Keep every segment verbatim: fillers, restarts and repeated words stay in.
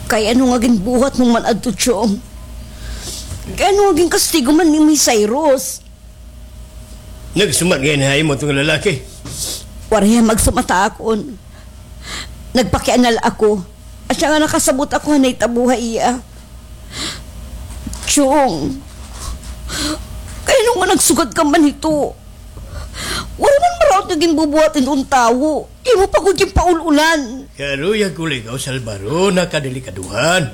Kay ano nga ginbuhat mo man adto, Chong? Kay ano nga ginkastigo man nimo hi Cyrus? Nagsumat ngay-an ha imo tong lalaki? Waray hiya magsumat ha akon. Nagpakiana la ako. Asya nga nakasabot ako ha nahitabo ha iya. Chong, kay ano nga nagsugad ka man hito? Waray man maraot nga ginbubuhat hiton tawo. Imo pa gud ginpaul-ulan. Karuyag ko la ikaw salbaron ha kadelikadohan.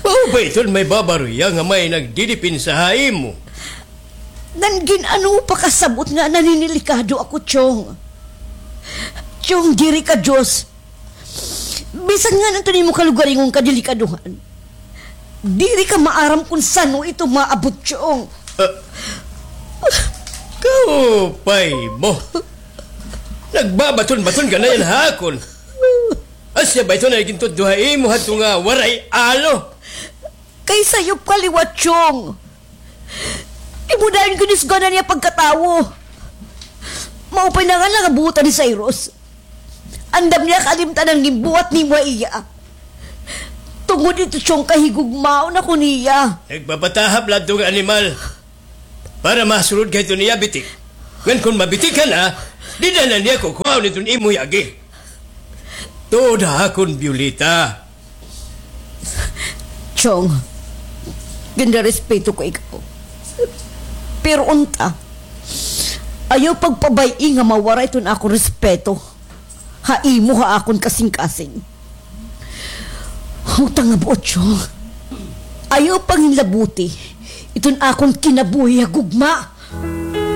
Maupay iton may babaroya nga may nagdidepensa ha imo. Ngan gin-ano pa kasabot nga naninilikado ako, Chong? Chong, diri ka Diyos. Bisan ngano iton imo kalugaringon kadelikadohan, diri ka maaram kon san-o ito maabot, Chong. Ah, kaupay mo. Nagbabaton-baton ka na yana ha akon. Asya ba iton nga gintudlo ha imo hadto nga waray alo? Kay sayop ka liwat, Chong. Imo dayon ginusganan niya pagkatawo. Maupay na nga nangabutan ni Cyrus. Andam niya kalimtan an ginbuhat nimo ha iya. Tungod ito, Chong, kay higugmaon ako niya. Nagpapatahap la adto nga animal. Para masulod ka hiton iya bitik. Ngan kon mabitik ka na, dida na niya kukuhaon iton imo yagi. Tuod ha akon, Violeta. Chong, ginrerespeto ko ikaw. Pero unta, ayaw pagpabay-i nga mawara iton akon respeto ha imo ha akon kasingkasing. Utang nga buot, Chong. Ayaw panginlabuti iton akon kinabuhi ha gugma.